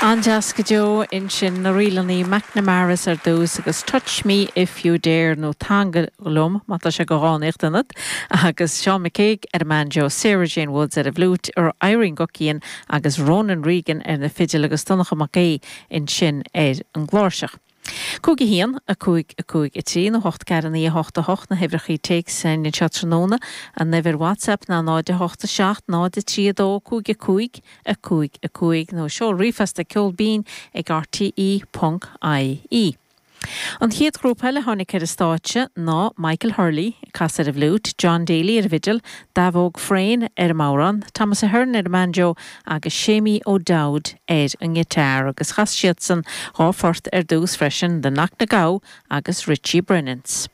An-deas go deo ansin, na ríleanna McNamaras ar dtús agus Touch Me If You Dare nó Teangail Liom má tá sé de dhánaíocht ionat agus Seán McCague ar an mbanjo, Sarah Jane Woods ar an bhfliúit, Irene Guckian agus Ronan Regan ar na fidil agus Donncha Mac Aodha ansin ar an gcláirseach. 5 1, 5, 5, 3 nó 8 4 9 8 8 na huimhreachaí téacs anseo tráthnóna. An uimhir WhatsApp ná 0 8 7 0 3 2 5 5 5 5 nó seol ríomhphost ag ceol binn ag rte ponc ie. An chéad ghrúpa eile a tháinig ar an stáitse ná Michael Hurley ag casadh ar an bhfliúit, John Daly ar an bhfidil, Dav Óg Frayne ar an mbodhrán, Thomas Ahern ar an mbanjo agus Séimí O'Dowd ar an ngiotár agus chas siadsan dha phort ar dtús freisin, The Knocknagow agus Richie Brennan's.